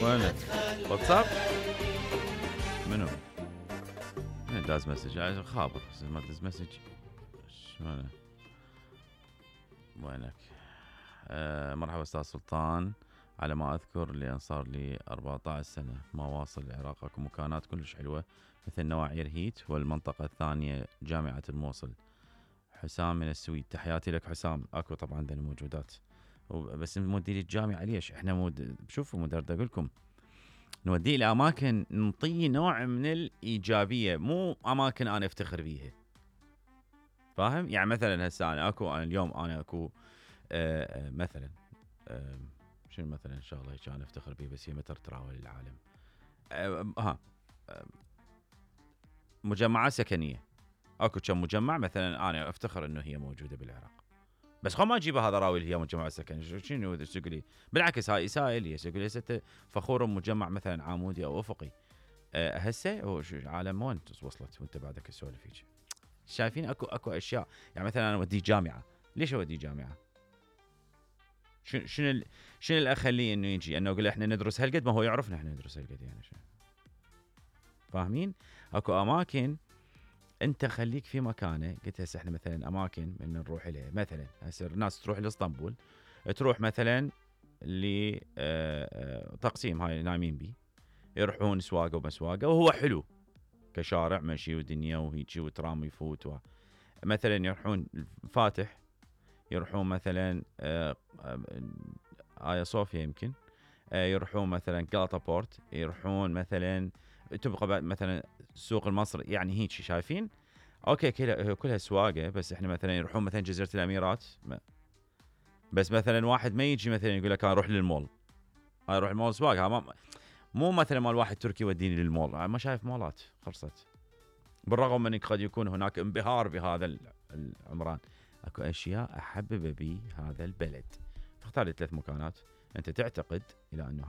وينك؟ واتساب؟ منو؟ من داز مسج؟ خابر ما داز مسج. شلونه؟ وينك؟ مرحبا استاذ سلطان. على ما اذكر لان صار لي 14 سنه ما واصل العراق. اكو مكانات كلش حلوه مثل نواعي هيت والمنطقه الثانيه جامعه الموصل. حسام من السويد. تحياتي لك حسام. اكو طبعا عندنا موجودات بس نودي لي الجامعه ليش؟ احنا شوفوا مدرد اقول لكم نوديه الى اماكن نعطيه نوع من الايجابيه، مو اماكن انا افتخر بيها. فاهم؟ يعني مثلا هسه انا اليوم انا اكو مثلا شنو مثلا ان شاء الله كان افتخر بيه بس هي متر تراول العالم. مجمعات سكنيه. اكو كم مجمع مثلا انا افتخر انه هي موجوده بالعراق، بس خو ما اجيبها هذا راوي اللي هي مجمع سكني. شنو تقولي؟ بالعكس هاي اساءه لي. يقول لي فخور بمجمع مثلا عامودي او افقي. هسه العالم وين وصلت وانت بعدك تسولف هيك؟ شايفين اكو اشياء. يعني مثلا انا اوديه جامعه. ليش اوديه جامعه؟ شنو اللي اخليه انه يجي؟ انه اقول احنا ندرس هالقد، ما هو يعرفنا احنا ندرس هالقد يعني شو. فاهمين؟ اكو اماكن انت خليك في مكانه. قلت هسه احنا مثلا اماكن من نروح اليها، مثلا هسه الناس تروح لاسطنبول، تروح مثلا لتقسيم هاي نايمين بي، يروحون سواقه ومسواقه وهو حلو كشارع مشي ودنيا وهيجي وترام يفوت مثلا يروحون فاتح، يروحون مثلا آيا صوفيا يمكن، يروحون مثلا غلطة بورت، يروحون مثلا تبقى مثلا سوق المصري. يعني هيك شايفين؟ اوكي كلها سواقه. بس احنا مثلا يروحون مثلا جزيره الاميرات، بس مثلا واحد ما يجي مثلا يقول لك انا اروح للمول، انا اروح المول سواقه. مو مثلا مال واحد تركي وديني للمول. ما شايف مولات خلصت. بالرغم من قد يكون هناك انبهار بهذا العمران، اكو اشياء احبب بي هذا البلد. تختار 3 مكانات انت تعتقد الى انه